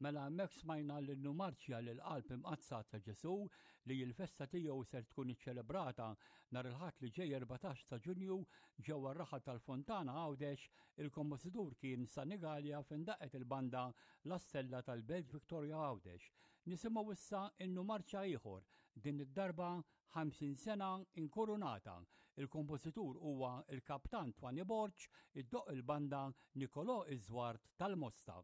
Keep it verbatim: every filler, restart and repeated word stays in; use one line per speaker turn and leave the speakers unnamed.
Mela hemmhekk smajna l-innu marċja lill-Qalb Imqaddsa ta' Ġesù li l-festa tiegħu ser tkun iċċelebrata nhar il-Ħadd li ġej erbatax ta' Ġunju ġewwa r-raħal tal-Fontana Għawdex. Il-kompożitur kien Sanigallia fejn daqqet il-banda La Stella tal-Belt Victoria Għawdex. Nisimgħu issa innu marċja ieħor, din id-darba ħamsin sena inkurunata. Il-kompożitur huwa il-Kaptan Twani Borg, iddoqq il-banda Nicolò Iżwart tal-Mosta.